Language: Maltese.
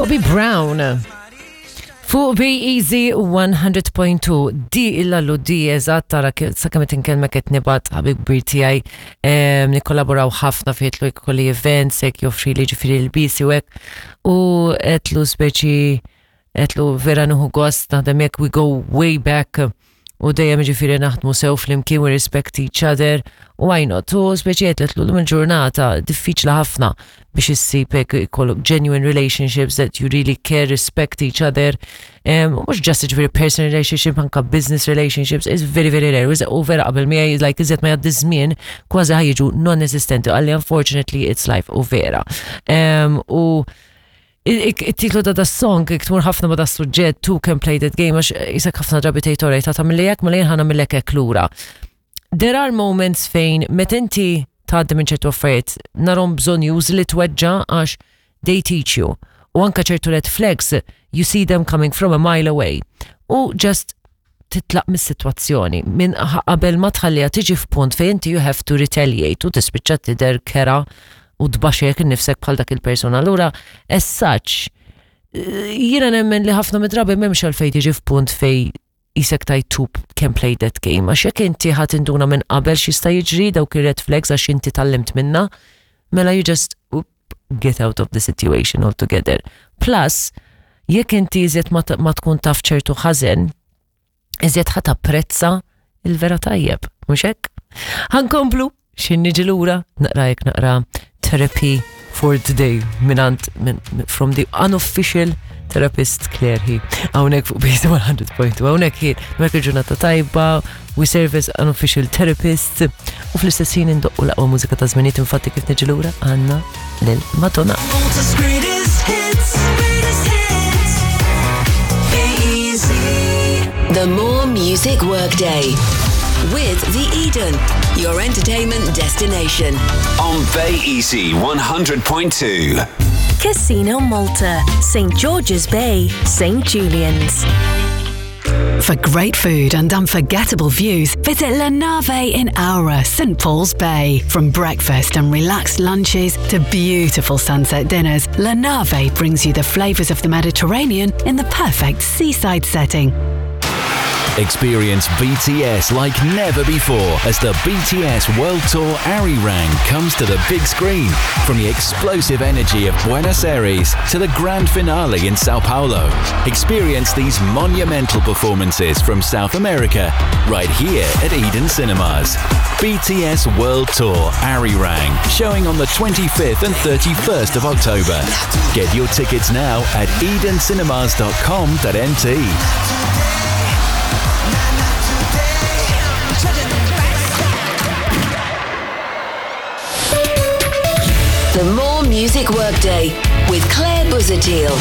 Bobby Brown. Fuq Be Easy 100.2 di illallu di eżatt tara sakemm qed inkellmek qed nibgħat ħabib kbir tiegħi nikkollaboraw ħafna fejn jitlu jkolli events hekk joffri li ġifieri l-bisi u hekk u qedlu speċi qedlu vera nieħu gost naħdem hekk we go way back u dejjem ġifieri naħdmu sew flimkien we respect each other u why not u speċi qed l il-ġurnata diffiċli ħafna biex issib hekk ikollok genuine relationships that you really care, respect each other. Mhux just ġifieri personal relationship, anka business relationships, is very very rare. U vera qabel miegħi like iżjed ma jgħaddi żmien kważi ħajġu non-esistenti għalli unfortunately it's life u vera. U it-titlu ta' da song tmur ħafna ma da suġġett two can play that game għax jisek ħafna drabi tgħid oraj ta' tagħmilli hekk mela jien ħa nagħmillek hekk lura. There are moments fejn meta inti tgħaddi minn ċertu affarijiet narhom bżonn li tweġġa' għax they teach you. U anka ċertu red flags you see them coming from a mile away. U just titlaq mis-sitwazzjoni minn qabel ma tħalliha tiġi f'punt fejn inti you have to retaliate u tispiċċa tidher kerha u tbaxxek innifsek bħal dak il-persuna. Allura, as such, jiena nemmen li ħafna mid-drabi m'hemmx għalfejn tiġi f'punt fej jisek tajt two can play that game. Għax jekk inti ħa tinduna minn qabel x'jista' jiġri dawk ir-red flags għax inti tgħallimt minna, mela you just oop, get out of the situation altogether. Plus, jekk inti iżjed ma tkun taf ċertu ħażen, iżjed ħa tapprezza il-vera tajjeb, mhux hekk? Ħa nkomplu x'ħin niġi lura naqra jekk naqra therapy for today minant min, from the unofficial therapist Claire hi. Hawnhekk fuq BC 100.2 hawnhekk hi mek il-ġurnata tajba, we serve as unofficial therapist u fl-istess ħin indoqqu l-aqwa mużika ta' żminijiet infatti kif niġi lura għandna lil Madonna. Malta's greatest hits, greatest hits. Be easy. The More Music Workday with The Eden, your entertainment destination. On Bay Easy 100.2. Casino Malta, St. George's Bay, St. Julian's. For great food and unforgettable views, visit La Nave in Aura, St. Paul's Bay. From breakfast and relaxed lunches to beautiful sunset dinners, La Nave brings you the flavours of the Mediterranean in the perfect seaside setting. Experience BTS like never before as the BTS World Tour Arirang comes to the big screen. From the explosive energy of Buenos Aires to the grand finale in Sao Paulo. Experience these monumental performances from South America right here at Eden Cinemas. BTS World Tour Arirang, showing on the 25th and 31st of October. Get your tickets now at edencinemas.com.mt. The More Music Workday with Claire Buzadil.